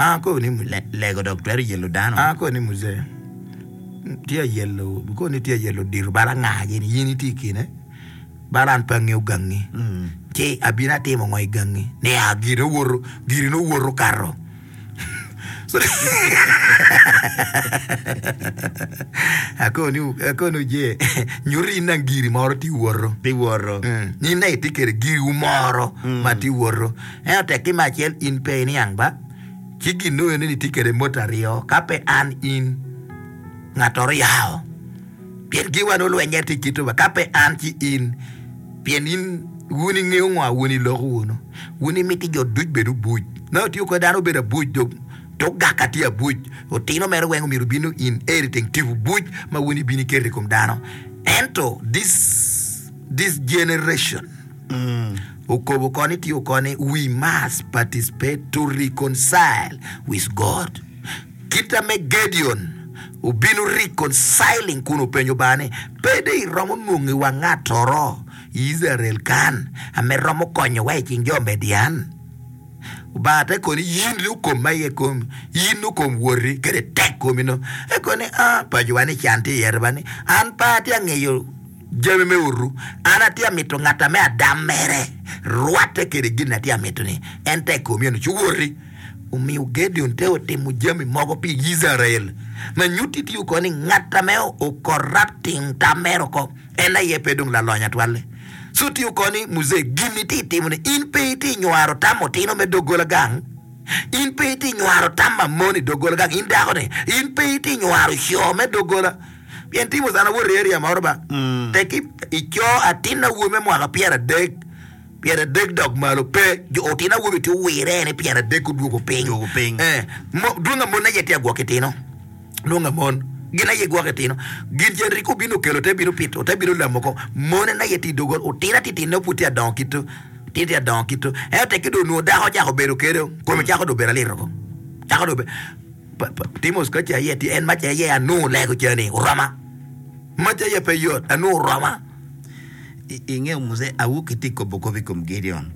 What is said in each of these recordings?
An akobo ni Le- lego dok twero yelo dano. An akobo ni muzee tye ayelo akobo ni tye ayelo odiro bal anga gini in itye i kine bal an pe angeyo gangi ci abino atimo ngo i gangi nia gire owoto giri ni owoto okato Akobo ni akobo ni oje nyuto in nang giri moro tye woto. Tye woto. Mm. In nang itye kede giriwu moro ma tye woto. Ento tek ki me acel in pe iniang ba. Ci gin nongo ni itye kede mot aryo ka pe an in ngattoro yao. Pien giwa nongo lweny tye kito ba ka pe an ci in pien in wun ingeyo ngo wun iloko wunu. Wun imiti jo duc bed obuc. Ma otiyo kwede dano obedo abuc dong tuk gaka tye abuc. Otino mere weng omyero obino in everything tipo buc ma wun ibino iketo i kom dano. Ento this this generation okobo koni tye okoni we must participate to reconcile with God. Kita me Gideon obino reconciling kun openyo Lubanga ni pe dong iromo nwongo iwa ngatoro I Icrael kan ame romo konyowa i cing jo Midian? Lubanga te koni, Yin ni okom ma iye komi, yin ni okom woti, kede tek komi no. E koni, A, pacowa ni can tye iye riba ni, an pe atye angeyo jami me oru, an atye amito ngat ame adam mere rwatte kede gin atye amito ni, en tek komi eno ci woti. Omiyo Gideon te otimo jami mogo pi Icrael ma nyutti tye oko ni ngat ame o-corrupting tam mere oko. En aye pe dong lalony atwalle. Co tye oko ni, Muzee, gin itye itimo ni in pe itye inywaro tam otino me doggola gang? In pe itye inywaro tam ma mon i doggola gang? In dako ni, in pe itye inywaro co me doggola? Pien timo sana wot i area moro ba, tek i co atin awobi me mwaka pyeradek, pyeradek dok malo pe, jo otino awobi tye owire ni pyeradek odwogo piny. Odwogo piny. Eh, mo, dwong a mon aye tye agwok itino. Nongo mon gin aye gwoko itino. Gin cen rik obino okelo te bino pito te bino lamo ko. Mon en aye tye i dogol otino atitine pud tye adongo kito tye tye adongo kito. Ento tek ki dong onwongo dako ocako bedo kede kome cako dong bedo alito ko. Cako dong bedo Timos ka ce aye tye en mace aye anongo lego cani oroma. Mace aye pe yot anongo oroma. Ingeyo Muzee awoki tye kobo kop i kom Gideon.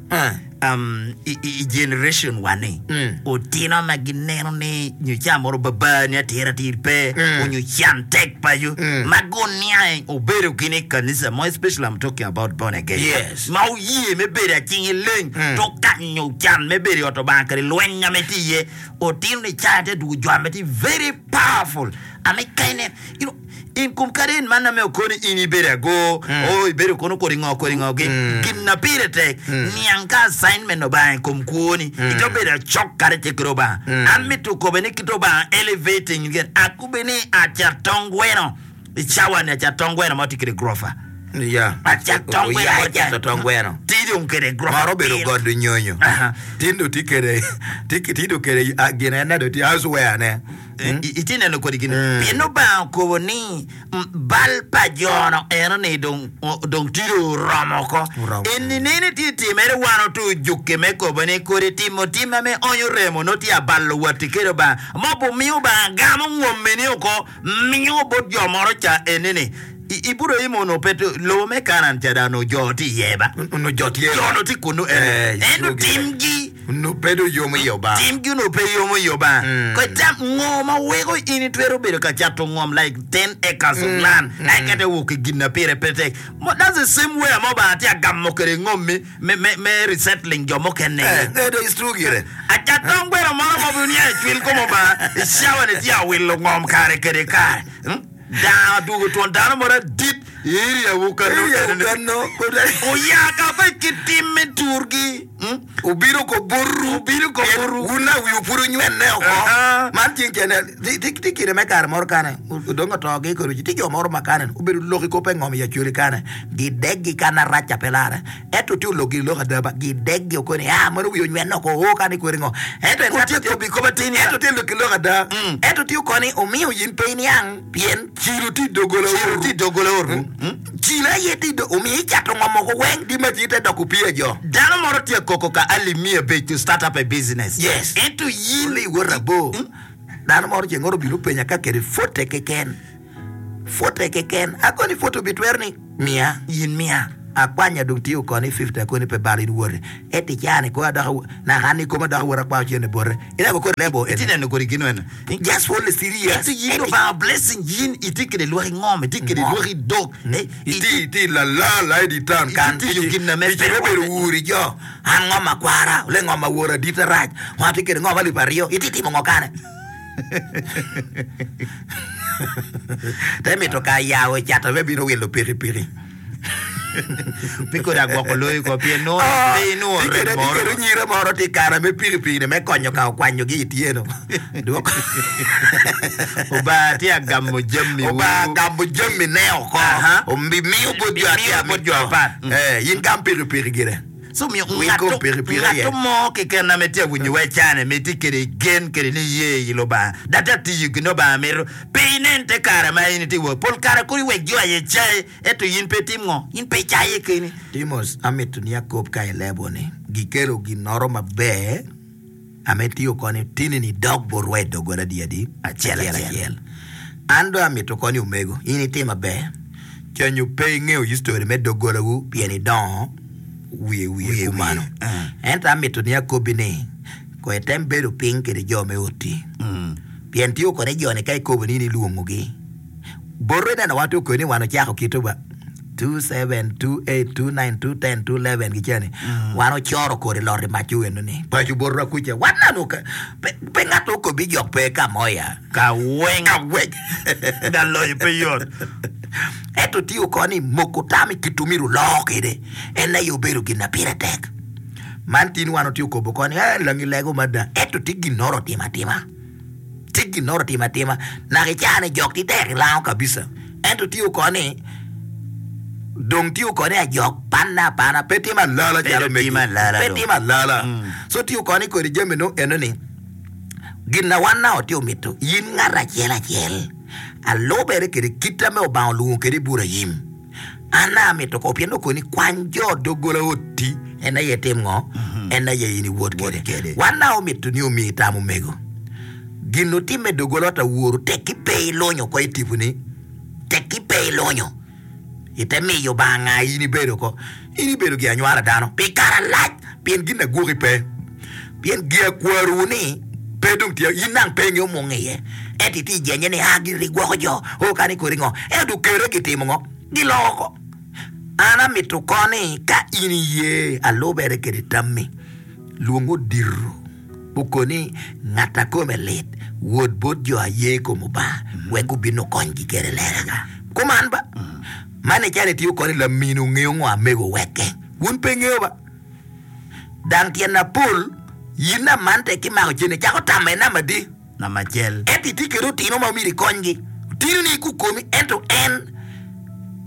Um, i, i generation wa ni mm. otino ma gineno ni nyo ca moro baba ni atir atir pe mm. onyo can tek paco mm. ma guniange obedo gin i kanisa mo especially I'm talking about born again yes. ma oye me bedo acinge leng mm. to kanyo can me bedo i ot Obanga kadi lweny ame tye iye otino ni ca te dwogo jo ame tye very powerful ame kene you know, In kom kadi en man ame okoni in ibedo ago, o ibedo kono kodi ngo kodi ngo gi, gin na pire tek, niang ka assignment Obanga i kom kwoni, ito bedo acok kadi tye kede Obanga. An mito kobe ni kit Obanga elevating you get, akube ni acat tong gweno, i cawa ni acat tong gweno ma tye kede gurofa. Ya. Acat tong gweno Oya mo icato tong gweno. Tye dong kede gurofa. Moro obedo godo nyonyo. Aha. Tin dong tye kede, tye dong kede ah, gin en dong tye houseware ne. Itye neno kodi gin? Pien Lubanga okobo ni bal pa jo-nu eno-ni dong tye dong oromo oko. En ninene tye timere wan otur jukke me kobo ni kodi timo tim ame onyo remo nongo tye abalo watti kede Lubanga ma obumiyo Lubanga gamo ngommi-ni oko miyo bot jo moro ca eni-ni. Iburaim onongo pe tye, lobo me Kanaan ca dong onongo jo tye iye ba. Onongo jo tye. Jo onongo tye kunnu ene. Ento timgi. Onongo pe dong yomo i Obanga. Timgi onongo pe yomo i Obanga. Kono itam ngo ma weko in itwero bedo ka cato ngom like ten acres of land eka ite wok ki gin na pire pe tek. That's the same way ma Obanga tye ka gamo kwede ngommi me, me, me resettling jo mukene. Eh, eh, dong it's true gire. Acat tong gweno moro ma obedo niya icwil kom Obanga i cawa ni tye awilo ngom kare kede kare. Hmm? Dano adwogo twon dano moro adit i area wu kano Area wu enoni. kano. Oya ka pe ki tim me turgi. Hmm? Obino ko botwu. Obino ko Pien botwu. Wun a wiwu pud onywenne oko. Aha. Man ceng cene, ti- ti- ti kine me kare moro kane, odong otogi kodi ci, ti jo moro ma kane obedo lok i kop engom i Acholi kane, gideggi kan arac ca pe larre. Ento tye olok giri lok ada ba, gideggi oko ni, ah, meno wiye onywenne oko, oo kane kweri ngo. Ento en Otye kobi kop atir niya. Ento tye lok ki lok ada. Mm. Ento tye oko ni omiyo in pe iniang pien cilo tye i doggola Cilo oru. tye i doggola oru. Mm. Cilo aye tye i do, omiyo icato ngom oko weng di ma ci te doko opii ajo. Dano moro tye koko ka alip miya abic to start up a business. Yes. Ento in. Li wot abor. Dano moro ceng oro obino openya ka kede fote keken. Fote keken. Akoni fote obitwero ni miya. In miya. Akwanya dong tye okoni 50 akoni pe balo in woti. Ento i caa ni kong adok naka an i koma dok awot akwayo cente bote. Ineno kodi lebo Itye eni. neno kodi gin eno. Just for the serious. Ento in Lubanga blessing in itye kede lwaki ngom, itye kede Ngom. lwaki dog. Eh, Itye itye lala la i di town kan. Itye tiyo gin na me Tic me bedo wur i jo. An ngom akwara, ole ngom awor adita rac. Wan atye kede ngom alip aryo. Itye timo ngo kane? Te mito ka yawo cato me bino wilo pikipiki. Pi kodi agwoko loyi ko pien nongo pe inongo Tye rem kede moro. tye kede onyira moro tye kare me pikipiki-ni me konyo ka okwanyogi i tyeno. Dwoko. Obanga tye agamo jami Obanga agamo jami ne oko. Aha. Obimiyo bot jo Obimiyo atye bot jo apat. Eh, in gam pikipiki gire. So omiyo Winy kom pikipiki aye. ngato mo keken ame tye awinyo wa icane me tye kede gen kede niye i Lubanga dok tye atiyo gin Lubanga mito pe inen te kare ma in itye wot pol kare kodi wek jo aye cayi ento in pe itim ngo in pe icaye keni. Timos, amito ni akob ka ilebo ni gikelo ginnoro maber ame tiyo koni tini ni dok botwa i doggola adi adi? Acel acel. An dong amito koni omego, in itim maber. Cenyo pe ingeyo history me doggolawu pien idongo wiye wiye kumano. Ento amito ni akobbi ni kong item bedo piny kede jo me oti. Pien tiyo kode jo-ni ka ikobo ni in ilwongogi. Bote ineno wa tye ni wan ocako kite wa 2 7 2 8 2 9 2 10 2 11 giceni wan ocoro kodi lot i mac eno ni paco botwa kuca wan nanu ka pe, pe ngat okobi jok pe ka mo ya Ka weng. ka weng Da loyo pe yot. ento tye oko ni moko tam i kit omyero oloo kede en aye obedo gin na pire tek man tin wan otye okobo ko ni eh langi lego mada ento tye ginoro otimo atima Tye ginnoro timo atima naka i caa-ni jok tye tek ilango kabisa ento tye oko ni dong tye oko ni ajok panne apana pe timo alala Pe calo dong megi timo alala pe dong. timo alala so tye oko ni kodi jami nongo eno ni gin na wan naka watye omito in ngat acel acel alubere kede kita me Obanga olwongo kede Iburayim. An amito ko pien okoni kwany jo doggola oti en aye itim ngo? En aye in iwot kwede. Wan na omito ni omi tam omego. Gin otimme doggola ot aworu tekki pe ilunyo oko i tiponi, tekki pe ilunyo ite miyo Obanga nga in ibedo oko. In ibedo gi anywala dano pi kare alac pien gin agwoki pe. Pien gia kwarowu ni pe dong tye, in nang pe ingeyo mung iye. Ento itye ijenye ni a gin rigwoko jo, o kani kodi ngo. Ento okere gitimo ngo? Giloko. An amito ko ni ka in iye alubere kede tammi, lwong odito okoni ngat a kome lit wot bot jo aye i kom Obanga wek gubin okonygi kede lega. Kuman ba, man icalo itiyo koni lamini ongeyo ngo amego oweke. Wun pe ingeyo ba? Dang tyen mapol, in namante ki mako cente icako tamo i namba adi? Namba acel. Ento itye kede otino ma myero ikonygi. Otinoni gukomi ento en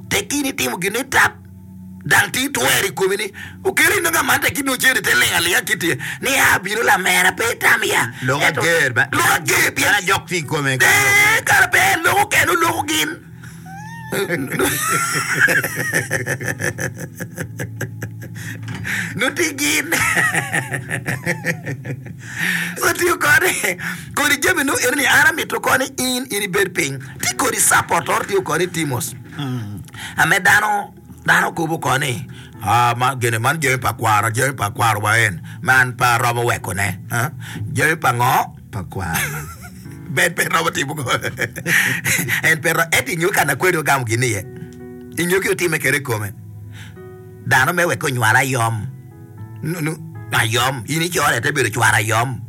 tekki in itimo gin ni tap dang tye twero i komi ni okeri inongo amante ki nongo cente te ling alinga kiti ni a bino lamera pe itam ya. Lok Ento ager ba. lok ager pien Kara jok tye i kome. Ee, kara pe en loko kene oloko gin. Nongo tye gin. So tiyo kode kodi jami nongo eno ni an amito koni in in ibed piny. Tye kodi support oro tiyo kodi Timos. Ame dano dano kobo koni ah ma gene man jami pa kwaro jami pa kwaro wa en man pe aromo weko ne. Ah, jami pa ngo? Pa kwaro. Ben pe romo timo go. En pe romo ento ingeyo kana kwede ogamo gin iye. Ingeyo ki otime kede i kome. Dano me wek onywal ayom. Nu, nu, ayom. In icore te bedo cwar ayom.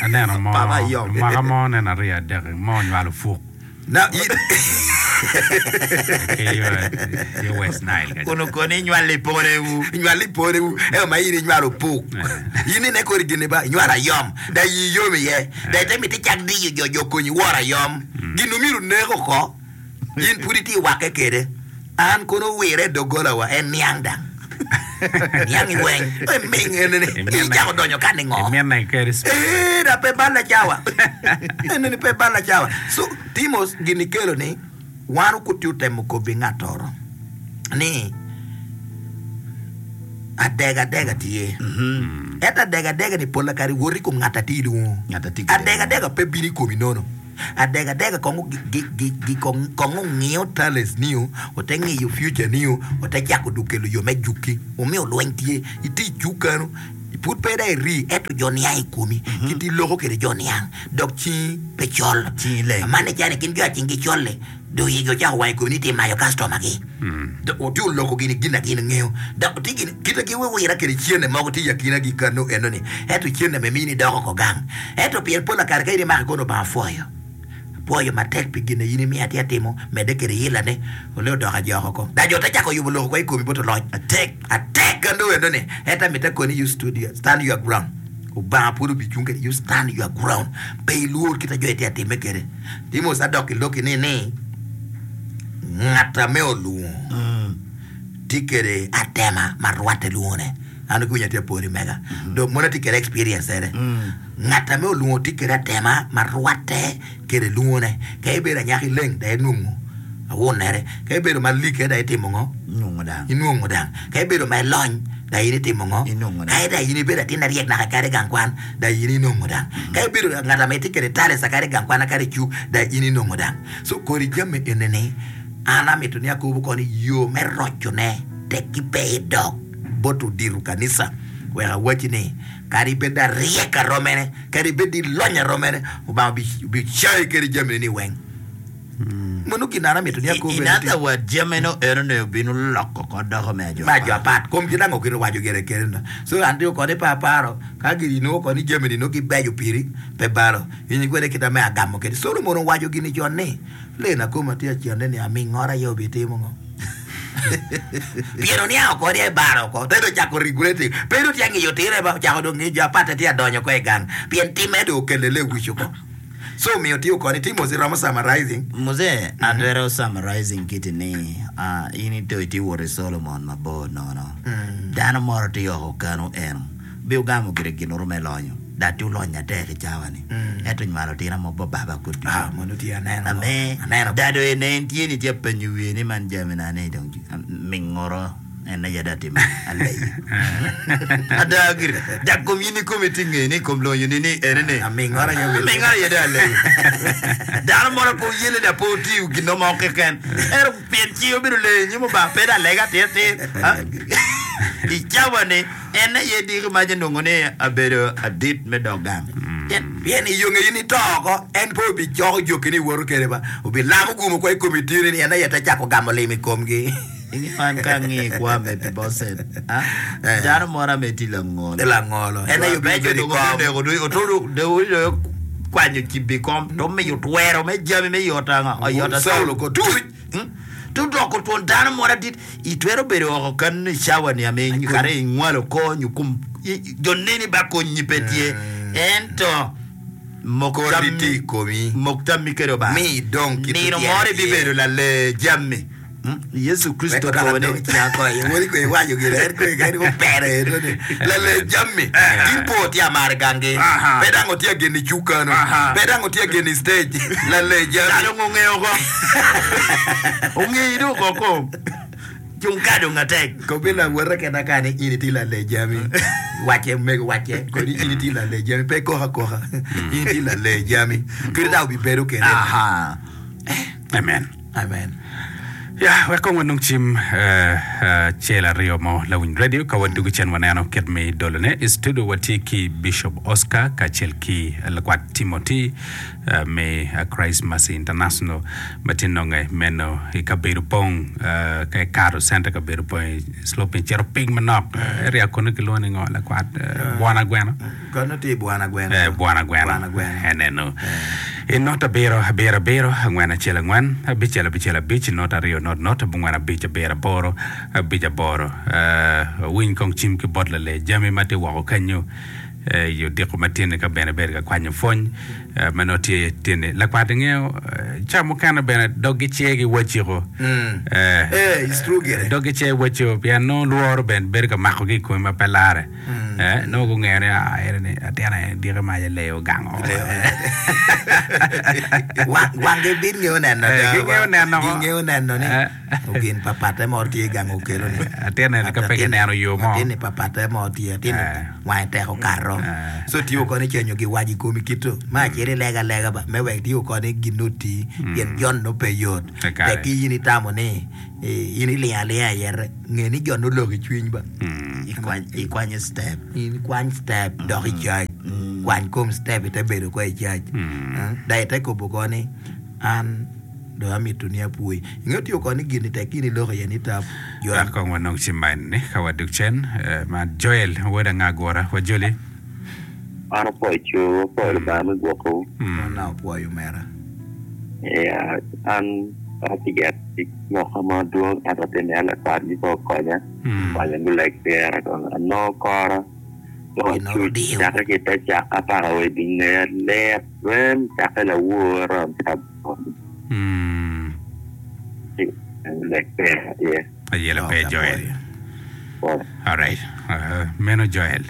Aneno mo, Papa ayom. mwaka mo neno aryo adek mo onywalo puk. Na, in, Ki yo, yo West Nile kaca. Kun okoni inywalo i ponewu. inywalo i ponewu ento ma in inywalo puk. In ine kodi gini ba inywalo ayom. Da iyi yom iye. Da ite miti cak diyo jo jo konyi woro ayom. Gin omyero onek oko. In pud itye wakke kede. An kono owire i doggola wa en niang dang. Niang i weng. E ming ene ni. Icako donyo ka ningo. Imine kede speed. Ee, da pe balla cawa. Ene ni pe balla cawa. So, timo gin ikelo ni wan okuti otemo kobi ngatoro ni adega adega tye. Ento adega adega ni pola kare wot i kom ngat atye ilwongo. Ngat atye kede. Adega adega pe bino i komi nono. Adega adega kong kong ongiyo talents niu, ote ngiyo future niu, ote cako dong kelo yo me juki. Omiyo lweny tye, itye i cuk kanu, pud pe dong iri ento jo niang i komi, kit iloko kwede jo niang dok cingi pe col. Cingi leng. Man icani gin jo a cingi col-li dong igi ocako wang i komi ni itye mayo kastoma gi. Dok otye oloko gin i gin a gin ngeyo. Dok tye gin kite gi wiwira kede cene mogo tye i akina gi kano eno ni ento cene me mini doko oko gang. Ento pien pol akare ka in imako kono Lubanga pwoyo. Apwoyo matek pi gin a in imiya atye atimo, medde kede yilla ne. Ole odoko ajoko oko. Dok jo te cako yubo lok oko i komi bot oloc. Atek. Atek kano eno ni ento amito akoni you stood your, stand your ground. Lubanga pud obicung kede you stand your ground. Pe ilwor kit a jo itye atime kede. Timos adok i lokki ni ni ngat ame olwongo tye kede atema ma rwatte lwongone. An dong kiwinyo atye apori mega. Dong mono atye kede experience ere. Ngat ame olwongo tye kede atema ma rwatte kede lwongone. Ka ibedo anyaka ileng dong inwongo awunere. Ka ibedo ma like dong itimo ngo? Inwongo dang. Inwongo dang. Ka ibedo ma ilony dong in itimo ngo? Inwongo dang. Ka dong in ibedo atin maryek naka kadi i gang kwan dong in inongo dang. Ka ibedo ngat ame itye kede talents kadi i gang kwan kadi i cuk dong in inongo dang. So kodi jami eni-ni an amito ni akobo koni yo me rocone tekki pe idok bot odito kanisa wek awacci ni kadi bed aryek aromene kadi bed ilony aromene Lubanga obicayi kede jamine ni weng. Meno gin an amito ni akob In bene other words, jamino enoni obino loko oko doko me me ajo apat. Kom kit ango kit owaco gire kede no. So an tye kodi pe aparo ka gin inongo koni jami ni nongo gibeco piri pe balo. In kwede kit ame agamo kede. Solomon owaco gini con ni, Lena koma tye acenne ni amingoro aye obitimo ngo? Pien oniango kodi ebaro oko, te dong ocako regretting. Pe dong tye ngiyo tire ba, ocako dong ngiyo jo apatte tye adonyo oko i gang. Pien timme dong okelle lewic oko. So omiyo tiyo kodi ti mos iromo summarizing. Muzee, atwero summarizing kiti ni, ah, in ito itye wot i Solomon mabor nono. Dano moro tye oko kanu eno, bi ogamo gire ginoro me lonyo, dok tye olonyo atek i cawa ni, ento onywalo tina mo baba kod ducu. Ah, mono tye aneno. Ame, Aneno. dado ene en tye ni tye apenyo wiye ni man jami na ni dong mingoro. En aye dong atimo aleyo. Ada gire, dok kom in ikomi tye ngeyo ni i kom lonyoni ni ene ni. Amingoro aye obedo. Amingoro aye dong aleyo. Dano mono pe oyelle dok pe otiyo gin mo keken. Ento pien cinge obedo leyo i nyim Lubanga, pe dong alega atir tir. I cawa-ni, en aye diki mac onongo ni abedo adit me dok gang. Pien i yo nge in ito oko, en pe obicoko jokini iwoto kwede ba, obilamo gum oko i komi tini ni en aye te cako gamo lim i komgi. Inge man ka angiyo i kwo Mepibocet, dano mo ame tye langolo. Langolo. En aye obino bedo i kom. Oneko dong otodo dong okwanyo cibo i kom to omiyo twero me jami me yot anga oyot Caulo ko tuc. To doko twon dano mo adit itwero bedo oko kanu i cawa ni ame kare inywalo ko nyo kom jo neni ba konyi pe tye ento mok Kori tammi tye i komi. mok tammi kede Obanga Mi idong kit nino otyeno moro tye. ibibedo lalee jami. Yecu Kricito okobo ni, Lale jami tin po tye amar gangi pe dang otye ageni cuk kano pe dang otye ageni stage lale jami Dano ongeyo oko ongeyi dong oko ko cung ka dong atek. Kobi lawote kena ka ni in itye lale jami wacce omego wacce kodi in itye lale jami pe ikok akoka in itye lale jami kadi dang obibedo kede. Amen. Amen. Ya, wek kong wanong cim acel aryo mo lawiny radio ka wadugo cen waneno kit me dolone. I studio watye ki Bishop Oscar kacel ki lakwat Timothy me Christ Mercy International ma tye nonge meno i kabedo pong ka ikato center kabedo pong i sloping cito piny manok area kunu kilwongo ni ngo lakwat Bwana Gweno. Kono tye i Bwana Gweno. Eh, Bwana Gweno. Bwana Gweno. Enenu. I not abiro, abiro, abiro, angwen, acel, angwen, abicel, abicel, abic, not aryo, not, not, abongwen, abic, abiro, aboro, abic, aboro. Eh, winy kong cim ki bot lale jami ma tye woko kenyo eh, i odiko ma tye-ni ka bene ibedo ka kwanyo pwony eh, ma nongo tye tye-ni. Lakwat ingeyo, eh, ca mukene bene doggi ce giwaciko. Eh, Eh, it's true gire. doggi ce waciko pien nongo lworo bene bedo ka makogi i komi ma pe lare. Eh, nongo gungeyo ni ah, ene ni atin eni diki mac alee ogango. Wang- Wanggi bit ngeyo neno Eh, da, gingeyo neno ko. Gingeyo neno ni Eh. ogin pa patte mo tye gang okelo ni. Atin eni ka pe Atin- gineno yo mo. Atin ni pa patte mo tye, atin ni Eh. wange tek okato. oro. So tiyo koni cenyo giwaco i komi kito. Me acel ilego alega ba me wek tiyo koni gin oti pien jon nongo pe yot. Kakare. Tek ki in itamo ni eh, in ilingo alinga iyete. Nge ni jon nongo oloko i cwiny ba. Ikwanyo step. In kwany step dok i cac. Kwany kom step ite bedo ko i cac. Dok ite kobo ko ni an dong amito ni apwoyi. Ingeyo tiyo ko ni gin-ni tek in iloko iye ni tap jo. Wek kong wanong cim man ni ka wadug cen. Ma Joel wod anga gura wa joli. An apwoyo cowu, apwoyo Lubanga me gwokowu. An apwoyo omera. Iya, an atye ki tic moka madwong ento atye neno lakwat gi pe okonya, okonya guleg pira kong anongo kora dong acuc cakke ki te caka paka wa i ngeya lit rem cakke lawor aromo cabit guleg pira iye. Ayela pe Joel. Alright. Meno Joel.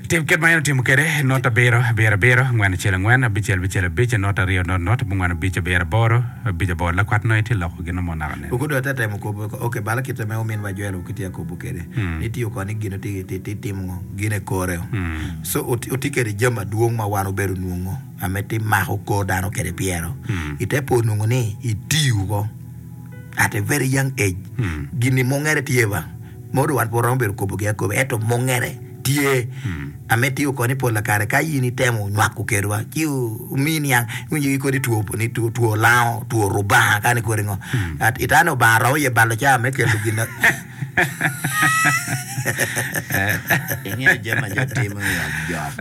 Tim kit ma en otimo kwede, not abiro, abiro abiro, angwen acel angwen, abicel abicel abic, not aryo not not, abongwen abic abiro aboro, abic aboro. Lakwat nongo itye loko gin mo naka nen. Okudo ate temo kobo, ok bala kite me omin wa Joel okitye akobo kede. Ni tiyo koni gino ti ti ti timo ngo gin e kore. So oti oti kede jami madwong ma wan obedo nwongo ame ti mako kor dano kede pyero. Ite po nwongo ni itiyo ko at a very young age. Gini mungere tye ba. Modo wan pe waromo bedo kobogi akoba, ento mungere tye. Ame tiyo koni pol kare ka in itemo nywako kedwa ci omiyi niang iwinjo ki kodi two ni two two lango two rubanga kani kodi ngo At itano Obanga romo ye balo caa me kelo gin Ingeyo jami ma jo timo i ot jok.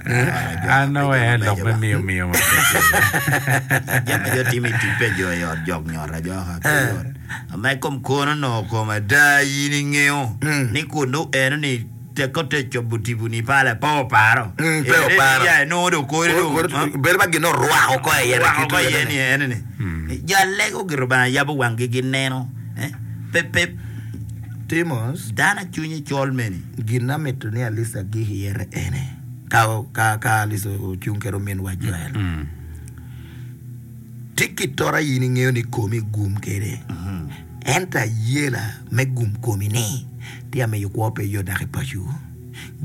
An aweya lok me miyo miyo ma pe. Jami ma jo timo i tic pa jo i ot jok nyoto ajoka pe yot. Ma i kom kono onongo kom ada in ingeyo ni kun dong eno ni tekke ote cobo tiponi pala pe oparo. Pe oparo. Ya inongo dong kore dong. Bedo ma gin orwako oko iye. Orwako oko iye ni eno ni. Jo alego gire Lubanga yabo wanggi gineno. Pe pe Timos. Dano cwinye col meni. Gin ma mito ni Alisa gik iye ene ka ka Alisa ocung kede ominwa Joel. Ti ki tora in ingeyo ni komi gum kede, ento ayela me gum komi ni tye amiyo kwo pe yot dok i paco.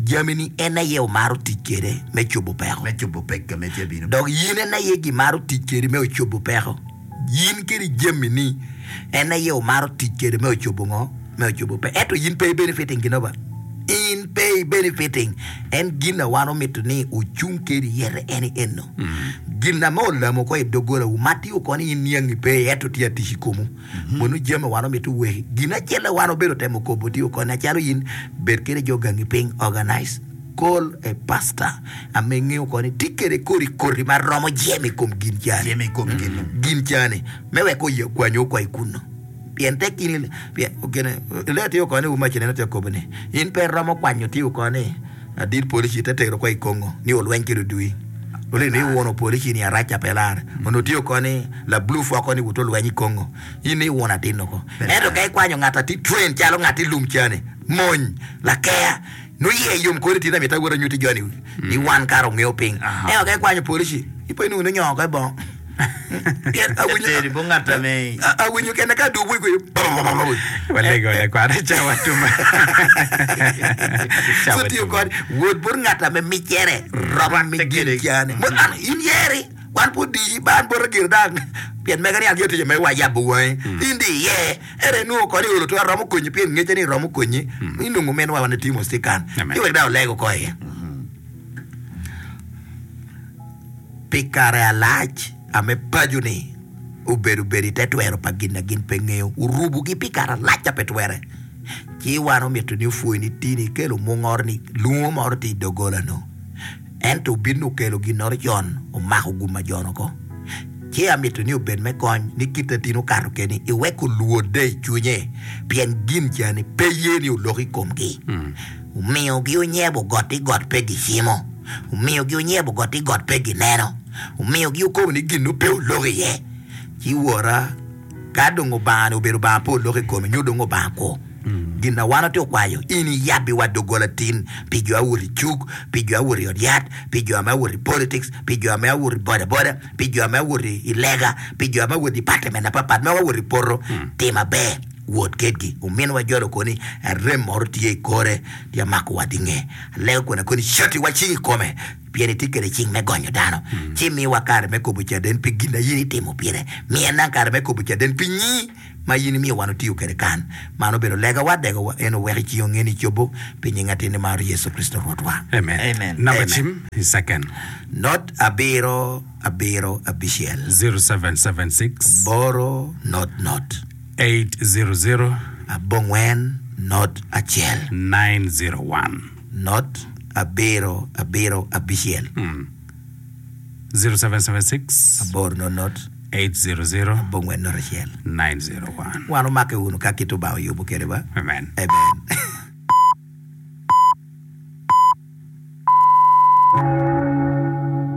Jami ni en aye omaro tic kede me cobo peko. Me cobo pekka me tye bino. Dok in en aye gimaro tic kedi me ocobo peko. Yin kede jami ni en aye omaro tic kede me ocobo ngo? Me ocobo peko. Ento in pe i benefiting gino ba. In pe i benefiting. En gin na wan omito ni ocung kedi iyete en i eno. Gin na me olamo oko i doggolawu ma tye oko ni in niangi pe iye ento tye atic i komwu. Mono jami wan omito weki. Gin acel a wan obedo temo kobo tye oko ni acalo in bed kede jo gangi piny organize call a pastor ame ngeyo oko ni tye kede kodi koti ma romo jemo i kom gin cani. Jemo i kom gin-nu. Gin cani me wek oye okwanyi oko i kunnu. Pien tek in pien gine lee tye oko ni umac neno tye akobo ni in pe iromo kwanyo tye oko ni Adit polici te tero kwa i Congo ni olweny kede odui. Olin ni iwuno polici ni araca pe lare. Onongo tye oko ni la blue foko ni wuto lweny i Congo. In ni iwuno atin oko. Ento ka ikwanyo ngat ati train calo ngat i lum cani, mony, lakea, nongo iye yom kodi tin amito awot anyuti joni ni wan kara ongeyo piny. Ento ka ikwanyo polici, ipo inongo ni onyongo oko i bongo. Pien awinyo Eteri bot ngat ame awinyo kene ka adubu i Walego lakwat cawa tuma. Cawa So tiyo tuma. kod wot bot ngat ame micere rom mi gin cani. Mo an in yeri wan pud diyi ba an bota gire dang pien mega ni an gire tic me wa yabo wangi. In di iye ere inwongo kodi olo twero romo konyi pien ngece ni romo konyi inongo minwa wan itimo cikan. Amen. Ci wek dang olego ko iye. Pi kare alac ame paco-ni obedo bedo i te twero pa gin na gin pe ngeyo, orubogi pi kare alac a pe twere. Ci wan omito ni opwony ni tini ikelo mungoro ni lungo moro tye i doggola-nu. Ento obino okelo ginnoro con omako gum ma jon oko. Ci amito ni obed me kony ni kite tin okato keni iwek olwodde i cwinye pien gin cani pe ye ni olok i komgi. Omiyogi onyebo got i got pe gicimo, omiyogi onyebo got i got pe gineno, omiyogi okobo ni gin-nu pe olok iye. Ci wora, ka dong Obanga-ni obedo Obanga pe olok i kome, nyo dong Obanga kwo, gin na wan watye okwayo, in iyabbiwa doggola tin pi jo awoto i cuk, pi jo awoto i ot yat, pi jo ame awoto i politics, pi jo ame awoto i bodaboda, pi jo ame awoto i lega, pi jo ame awoto i department mapatpat, ma wawoto i poto, tim aber. Wot kedgi. Ominwa jolo koni arem moro tye i kore, tye amako wa dinge. Alego kwena koni cati wa cing i kome, pien itye kede cing me gonyo dano. Ci miwa kare me kobo caden pi gin a in itimo pire. Miya nang kare me kobo caden pi nyi ma in imiyo wan otiyo kede kan. Man obedo legawa, degowa en owek i cingi onge ni cobo pi nying atinni mar Yecu Kricito Rwotwa. Amen. Amen. Namba Amen. cim i second. Not abiro abiro abicel. 0776. Boro not not. 800. Abongwen not acel. 901. Not abiro abiro abicel. 0776. Aboro not not. 800. Abongwen not acel. 901. Wan omake wunu ka kit Lubanga oyubo kwede ba. Amen. Amen.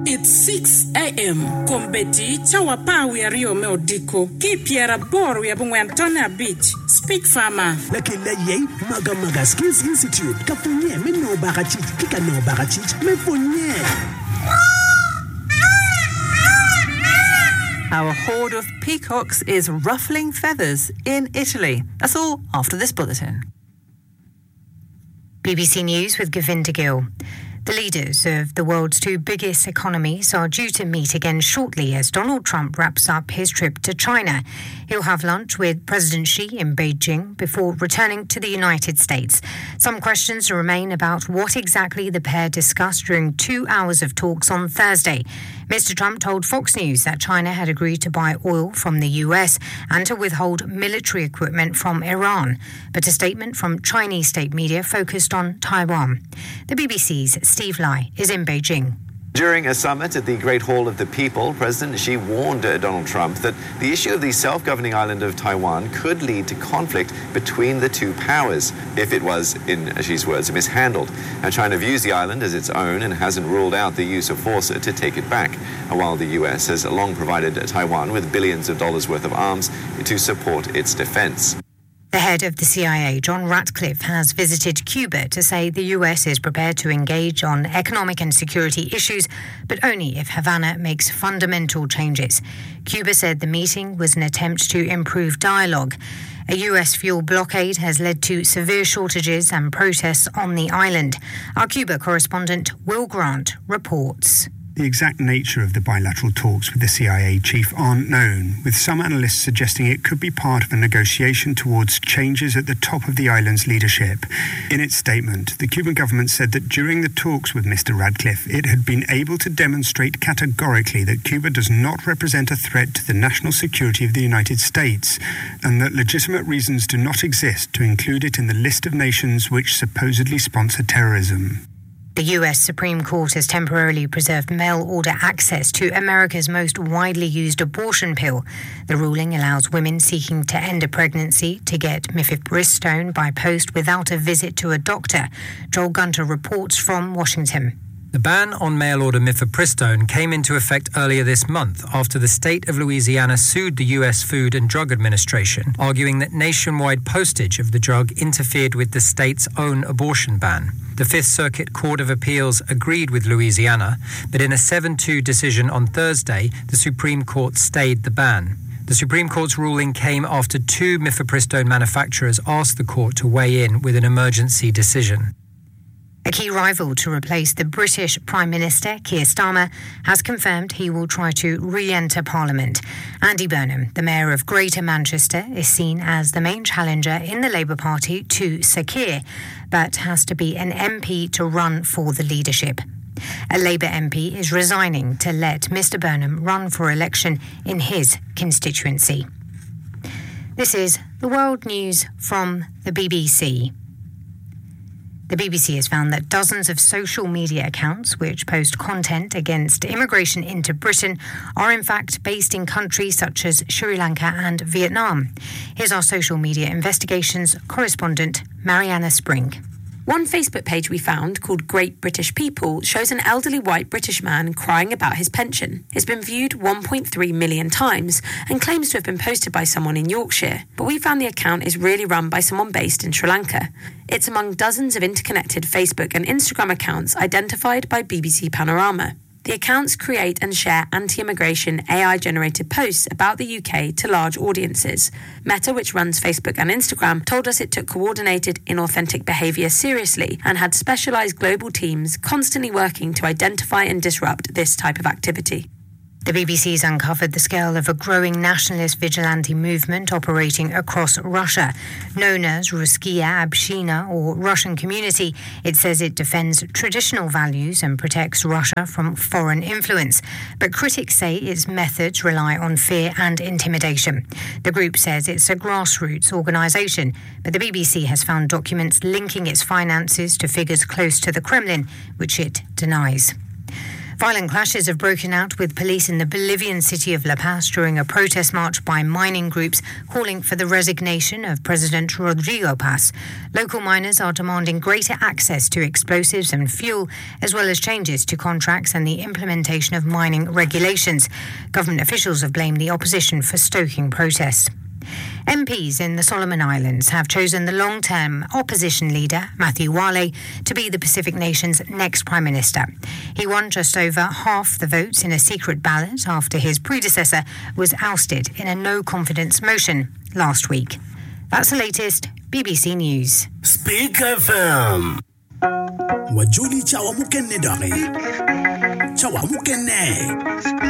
It's 6am, Kombeddi, cawa 12 me odiko, ki i 85 tonne abic, Speech Farmer. Lakel aye Magamaga Skills Institute ka pwonye me nongo bakacic ki ka nongo bakacic me pwonye. How a horde of peacocks is ruffling feathers in Italy. That's all after this bulletin. BBC News with Govinda Gill. The leaders of the world's two biggest economies are due to meet again shortly as Donald Trump wraps up his trip to China. He'll have lunch with President Xi in Beijing before returning to the United States. Some questions remain about what exactly the pair discussed during 2 hours of talks on Thursday. Mr. Trump told Fox News that China had agreed to buy oil from the US and to withhold military equipment from Iran, but a statement from Chinese state media focused on Taiwan. The BBC's Steve Lai is in Beijing. During a summit at the Great Hall of the People, President Xi warned uh, Donald Trump that the issue of the self-governing island of Taiwan could lead to conflict between the two powers if it was, in Xi's words, mishandled. Now, China views the island as its own and hasn't ruled out the use of force to take it back, while the U.S. has long provided Taiwan with billions of dollars worth of arms to support its defense. The head of the CIA, John Ratcliffe, has visited Cuba to say the US is prepared to engage on economic and security issues, but only if Havana makes fundamental changes. Cuba said the meeting was an attempt to improve dialogue. A US fuel blockade has led to severe shortages and protests on the island. Our Cuba correspondent, Will Grant, reports. The exact nature of the bilateral talks with the CIA chief aren't known, with some analysts suggesting it could be part of a negotiation towards changes at the top of the island's leadership. In its statement, the Cuban government said that during the talks with Mr. Radcliffe, it had been able to demonstrate categorically that Cuba does not represent a threat to the national security of the United States, and that legitimate reasons do not exist to include it in the list of nations which supposedly sponsor terrorism. The US Supreme Court has temporarily preserved mail order access to America's most widely used abortion pill. The ruling allows women seeking to end a pregnancy to get mifepristone by post without a visit to a doctor. Joel Gunter reports from Washington. The ban on mail order mifepristone came into effect earlier this month after the state of Louisiana sued the US Food and Drug Administration, arguing that nationwide postage of the drug interfered with the state's own abortion ban. The Fifth Circuit Court of Appeals agreed with Louisiana, but in a 7 2 decision on Thursday, the Supreme Court stayed the ban. The Supreme Court's ruling came after two mifepristone manufacturers asked the court to weigh in with an emergency decision. A key rival to replace the British Prime Minister, Keir Starmer, has confirmed he will try to re enter Parliament. Andy Burnham, the Mayor of Greater Manchester, is seen as the main challenger in the Labour Party to Sir Keir, but has to be an MP to run for the leadership. A Labour MP is resigning to let Mr Burnham run for election in his constituency. This is the World News from the BBC. The BBC has found that dozens of social media accounts which post content against immigration into Britain are in fact based in countries such as Sri Lanka and Vietnam. Here's our social media investigations correspondent, Mariana Spring. One Facebook page we found, called Great British People, shows an elderly white British man crying about his pension. It's been viewed 1.3 million times and claims to have been posted by someone in Yorkshire. But we found the account is really run by someone based in Sri Lanka. It's among dozens of interconnected Facebook and Instagram accounts identified by BBC Panorama. The accounts create and share anti-immigration AI-generated posts about the UK to large audiences. Meta, which runs Facebook and Instagram, told us it took coordinated inauthentic behaviour seriously and had specialised global teams constantly working to identify and disrupt this type of activity. The BBC's uncovered the scale of a growing nationalist vigilante movement operating across Russia. Known as Russkiya Obshchina or Russian Community, it says it defends traditional values and protects Russia from foreign influence. But critics say its methods rely on fear and intimidation. The group says it's a grassroots organisation, but the BBC has found documents linking its finances to figures close to the Kremlin, which it denies. Violent clashes have broken out with police in the Bolivian city of La Paz during a protest march by mining groups calling for the resignation of President Rodrigo Paz. Local miners are demanding greater access to explosives and fuel, as well as changes to contracts and the implementation of mining regulations. Government officials have blamed the opposition for stoking protests. MPs in the Solomon Islands have chosen the long term opposition leader, Matthew Wale, to be the Pacific nation's next prime minister. He won just over half the votes in a secret ballot after his predecessor was ousted in a no confidence motion last week. That's the latest BBC News. Speak FM. Wajoli cawa mukene doki. Cawa mukene.